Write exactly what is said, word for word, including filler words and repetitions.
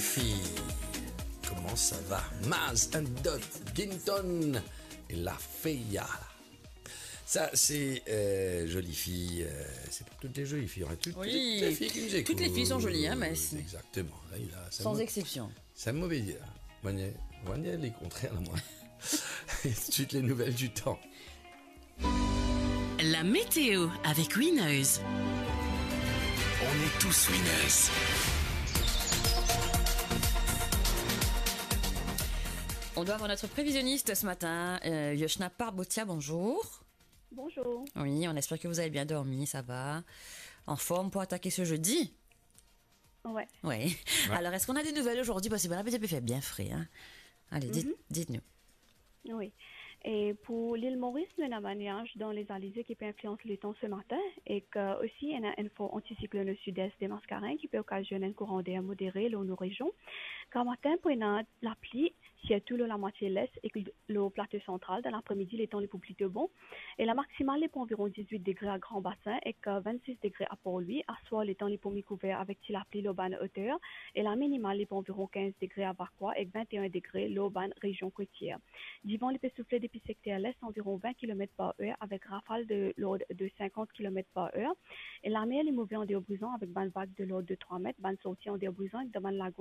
Fi, comment ça va? Maz and Dot, Ginton et La Feya. Ça, c'est, euh, Jolie Fille, euh, c'est pour toutes les jolies filles, hein, toutes, Oui. toutes les filles qui nous écoutent. Toutes les filles sont jolies, hein, mais c'est Exactement. Là, il a, c'est Sans mo-, exception. c'est mauvais dire. Moin, moin, le contraire, moi. Tout de suite, les nouvelles du temps. La météo avec Winners. On est tous winners. On doit avoir notre prévisionniste ce matin, euh, Yoshna Parbotia, bonjour. Bonjour. Oui, on espère que vous avez bien dormi, ça va. En forme pour attaquer ce jeudi? Ouais. Oui. Ouais. Alors, est-ce qu'on a des nouvelles aujourd'hui? Parce que voilà, peut-être il fait bien frais, hein. Allez, dites, Mhm. dites-nous. Oui. E pou Lil Moris, nou ena bann niaz dan Lezalize ki pe inflians letan se matin, ek osi ena enn for antisiklonn o sid-est de Maskarenn ki pe okazionn enn kouran der modere lor nou rezion. Gramatin pou ena lapli, sirtou lor lamwatie les ek lor plato santral. Dan lapremidi, letan li pou plito bon. E lamaksimal, li pou anviron diz-wit degre a Gran Basin ek, euh, vinn-sis degre a Port-Louis. Aswar, letan li pou mikouver avek ti lapli lor bann oter. E laminimal, li pou anviron kinz degre a Vacoas ek vinte-e-enn degre lor bann rezion kotier. Divan, li pe soufle depi sekter les anviron vin kilomet par er avek rafal de lord de sinkant kilomet par er. E lamer, li move andeor Brizon avek bann vag de lord de trwa met, bann sorti andeor Brizon ek dan bann lago